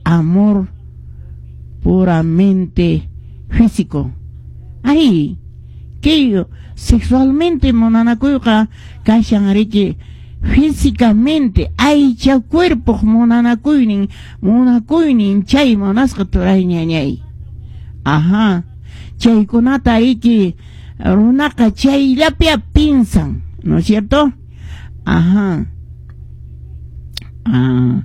amor puramente físico. Ay, kay sexualmente munanakuyqa kashan riki físicamente aycha cuerpoq munanakuynin munakuynin chay munasqa turay ñañay. Ajá, chaykunata riki runaqa chayllapia piensan, ¿no es cierto? Ajá. Ah.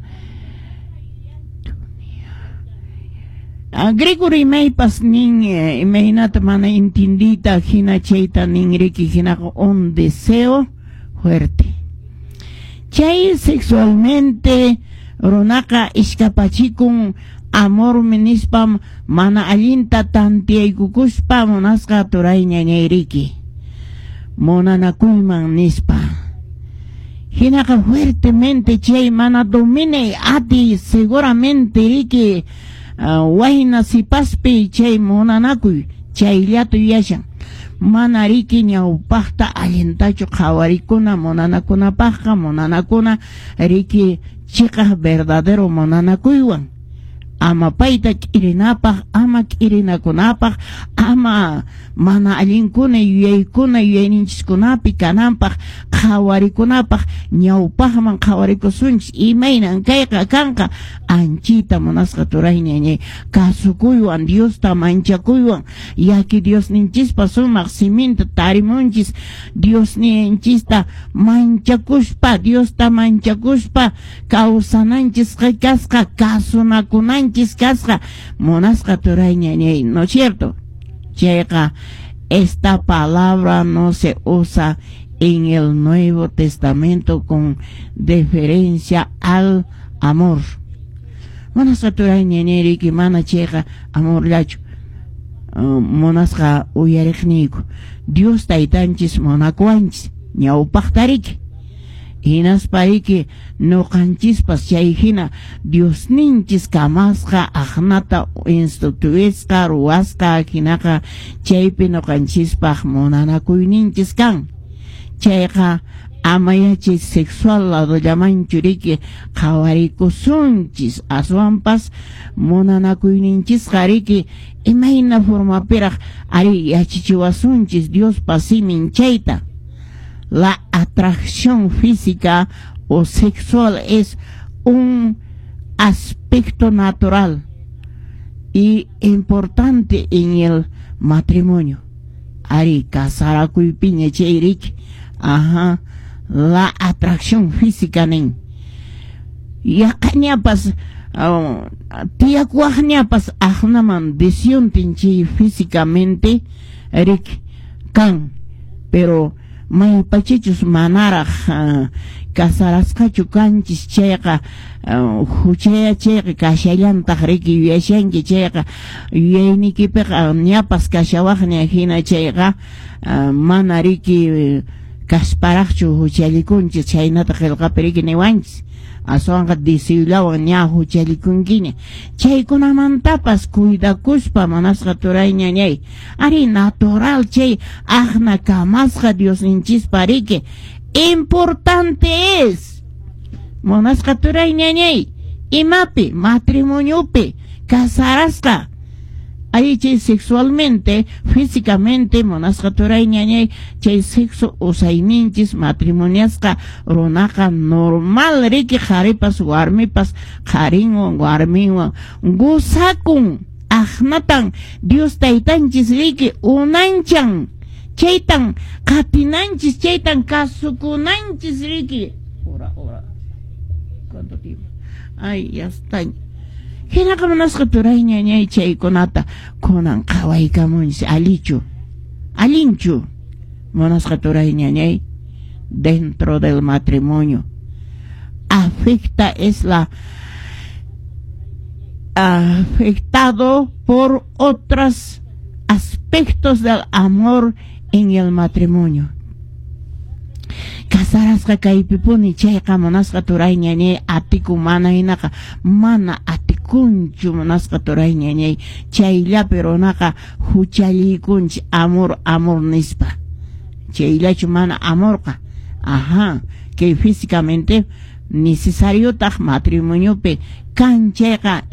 Griego rimaypas nin imaynata mana entendita hina chayta nin riki hinaqa un deseo fuerte. Chay sexualmente runaqa iskapachikun amormi nispam mana allinta tantiyaykukuspa munasqa turay ñañayriki munanakuyman nispa. Hinaqa fuertemente chay mana dominay ati seguramente riki wayna sipaspi chay munanakuy chayllata yuyashan mana riki ñawpaqta allintachu qhawarikuna munanakunapaqqa munanakuna riki chiqaq verdadero munanakuywan ama payta k'irinapaq ama k'irinakunapaq ama mana allinkuna yuyaykuna yuyayninchiskunapi kananpaq qhawarikunapaq ñawpaqman qhawarikusunchis imaynan kayqa kanqa anchita munasqa turay ñañay kasukuywan Diosta manchakuywan yaki Diosninchispa sumaq siminta tarimunchis Diosninchista manchakuspa Diosta manchakuspa kawsananchis kasqa kasunakunanchis kasqa munasqa turay ñañay, ¿no es cierto? Chayqa esta palabra no se usa en el Nuevo Testamento con deferencia al amor. Munasqa turay ñañay riki mana chayqa amorllachu munasqa uyariqniyku Dios taytanchis munakuwanchis ñawpaqta riki hinaspa riki ñuqanchispas chay hina Diosninchis kamasqa aqnata instituisqa ruwasqa hinaqa chaypi ñuqanchispaq munanakuyninchis kan chayqa ama yachay sexual ladollamanchu riki qhawarikusunchis aswanpas munanakuyninchisqa riki imayna formapiraq ari yachachiwasunchis Diospa simin chayta. La atracción física o sexual es un aspecto natural y importante en el matrimonio. Ari casarakuypiña chay riki, ajá, la atracción física nin. Yaqañapas tiyakuwaqñapas aqnaman deseontin chay físicamente riki kan, pero maypachachus manaraq casarasqachu kanchis chayqa huchaya chayqa kashallantaq riki yuyashanki chayqa yuyaynikipiqa ñapas kashawaqña hina chayqa mana riki kasparaqchu huchallikunchis chaynata qillqapi riki niwanchis aswanqa deseyllawan ña huchallikunkiña chaykunamantapas cuidakuspa munasqa turay ñañay ari natural chay aqna kamasqa Diosninchispa riki importante es munasqa turay ñañay imapi matrimoniopi casarasqa ahí chay sexualmente físicamente munasqa turay ñañay chay sexo usayninchis matrimoniasqa runaqa normal riki qharipas warmipas qharinwan warminwan gozakun aqnatan Dios taytanchis riki unanchan chaytan qatinanchis chaytan kasukunanchis riki hora hora ¿cuánto tiempo? Ay, ya está. Hinaqa munasqa turay ñañay chaykunata kunan qhawaykamunchis allichu allinchu munasqa turay ñañay dentro del matrimonio afecta es la afectado por otros aspectos del amor en el matrimonio. Casarasqa kaypipuni chayqa munasqa turay ñañay atikun mana hinaqa mana atikunchu munasqa turay ñañay chayllapi runaqa huchallikunchik amor amor nispa chayllachu mana amorqa ajá que físicamente necesariotaq matrimoniopi kan chayqa.